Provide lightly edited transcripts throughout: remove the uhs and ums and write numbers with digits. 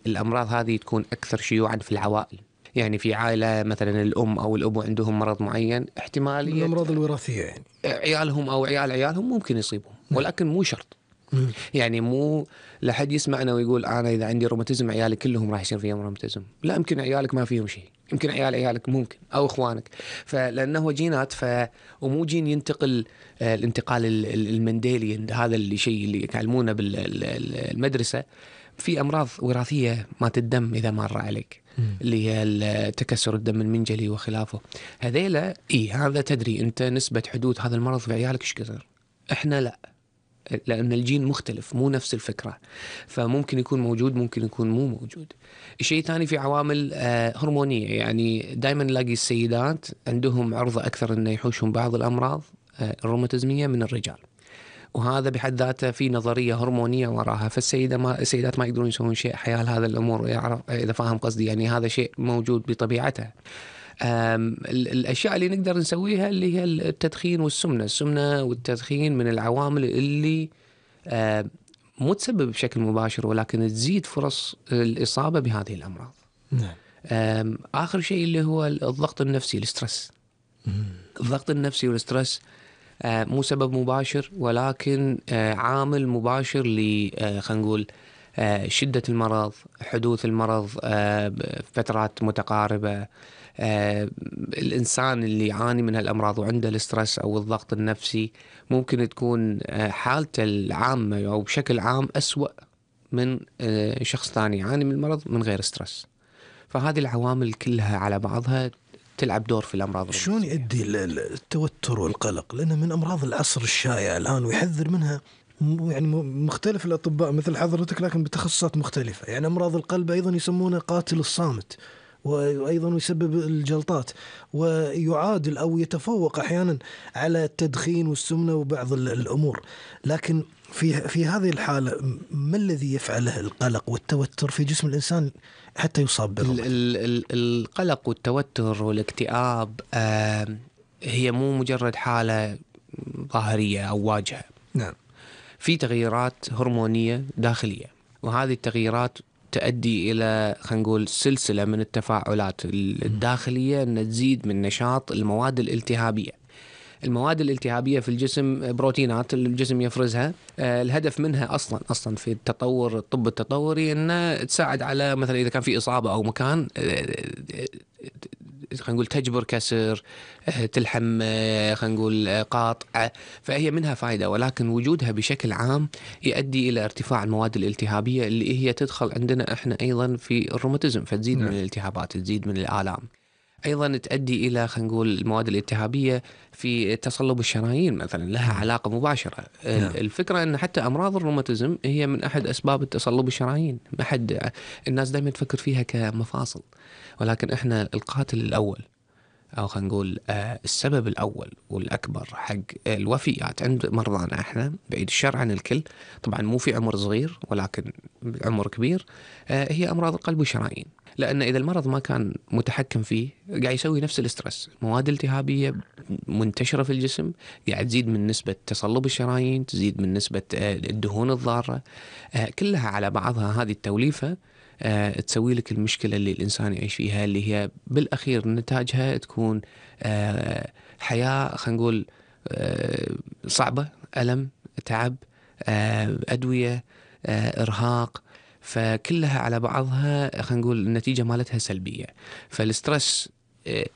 الأمراض هذه تكون أكثر شيوعا في العوائل. يعني في عائلة مثلا الأم أو الأب عندهم مرض معين، احتمالية من الأمراض الوراثية يعني عيالهم أو عيالهم ممكن يصيبهم، ولكن مو شرط. يعني مو لحد يسمعنا ويقول أنا إذا عندي روماتيزم عيالي كلهم راح يصير فيهم روماتيزم. لا، يمكن عيالك ما فيهم شيء، يمكن عيالك ممكن، أو إخوانك. فلأنه جينات، ومو جين ينتقل الانتقال المنديلي، هذا الشيء اللي يعلمونه بالمدرسة. في أمراض وراثية مات الدم إذا مر عليك، اللي هي تكسر الدم المنجلي وخلافه. هذيلا هذا تدري أنت نسبة حدوث هذا المرض في عيالك إيش كثر. إحنا لا، لأن الجين مختلف، مو نفس الفكرة، فممكن يكون موجود ممكن يكون مو موجود. الشيء الثاني في عوامل هرمونية. يعني دائما نلاقي السيدات عندهم عرضة أكثر أن يحوشهم بعض الأمراض الروماتيزمية من الرجال، وهذا بحد ذاته في نظرية هرمونية وراها. السيدات ما يقدرون يسوون شيء حيال هذا الأمور، يعرف إذا فاهم قصدي. يعني هذا شيء موجود بطبيعته. الأشياء اللي نقدر نسويها اللي هي التدخين والسمنة والتدخين من العوامل اللي مو تسبب بشكل مباشر، ولكن تزيد فرص الإصابة بهذه الأمراض. آخر شيء اللي هو الضغط النفسي، السترس. الضغط النفسي والسترس مو سبب مباشر، ولكن عامل مباشر خلينا نقول شدة المرض، حدوث المرض فترات متقاربة. الإنسان اللي يعاني من هالأمراض وعنده الاسترس أو الضغط النفسي ممكن تكون حالته العامة أو بشكل عام أسوأ من شخص ثاني يعاني من المرض من غير استرس. فهذه العوامل كلها على بعضها تلعب دور في الأمراض. شلون يؤدي التوتر والقلق؟ لأنه من أمراض العصر الشائع الآن ويحذر منها يعني مختلف الأطباء مثل حضرتك، لكن بتخصصات مختلفة. يعني أمراض القلب أيضا يسمونه قاتل الصامت، وأيضا يسبب الجلطات، ويعادل أو يتفوق أحيانا على التدخين والسمنة وبعض الأمور. لكن في هذه الحالة ما الذي يفعله القلق والتوتر في جسم الإنسان حتى يصاب بالروماتيزم؟ القلق والتوتر والاكتئاب هي مو مجرد حالة ظاهرية أو واجهة. نعم، في تغييرات هرمونية داخلية، وهذه التغييرات تؤدي إلى خلينا نقول سلسلة من التفاعلات الداخلية أن تزيد من نشاط المواد الالتهابية. المواد الالتهابية في الجسم بروتينات الجسم يفرزها. الهدف منها أصلا في التطور، الطب التطوري، أنه تساعد على مثلا إذا كان في إصابة أو مكان خلينا نقول تجبر كسر، تلحم خلينا نقول قاطع، فهي منها فائدة. ولكن وجودها بشكل عام يؤدي إلى ارتفاع المواد الالتهابية اللي هي تدخل عندنا إحنا أيضا في الروماتيزم، فتزيد من الالتهابات، تزيد من الآلام. أيضا تؤدي إلى خلينا نقول المواد الالتهابية في تصلب الشرايين مثلا، لها علاقة مباشرة. الفكرة أن حتى أمراض الروماتيزم هي من أحد أسباب التصلب الشرايين. الناس دائما تفكر فيها كمفاصل، ولكن إحنا القاتل الأول أو خلينا نقول السبب الأول والأكبر حق الوفيات عند مرضانا إحنا، بعيد الشر عن الكل طبعا، مو في عمر صغير ولكن عمر كبير، هي أمراض القلب والشرايين. لأن إذا المرض ما كان متحكم فيه قاعد يسوي نفس الاسترس، مواد التهابية منتشرة في الجسم، قاعد تزيد من نسبة تصلب الشرايين، تزيد من نسبة الدهون الضارة، كلها على بعضها هذه التوليفة تسوي لك المشكلة اللي الإنسان يعيش فيها، اللي هي بالأخير نتاجها تكون حياة خلينا نقول صعبة، ألم، تعب، أدوية، إرهاق. فكلها على بعضها خلينا نقول النتيجة مالتها سلبية. فالسترس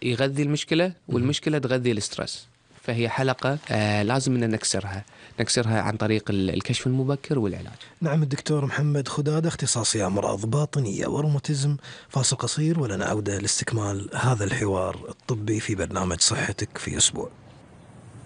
يغذي المشكلة، والمشكلة تغذي السترس، فهي حلقة لازم أن نكسرها عن طريق الكشف المبكر والعلاج. نعم، الدكتور محمد خدادة، اختصاصي أمراض باطنية وروماتيزم. فاصل قصير ولنا عودة لاستكمال هذا الحوار الطبي في برنامج صحتك في أسبوع.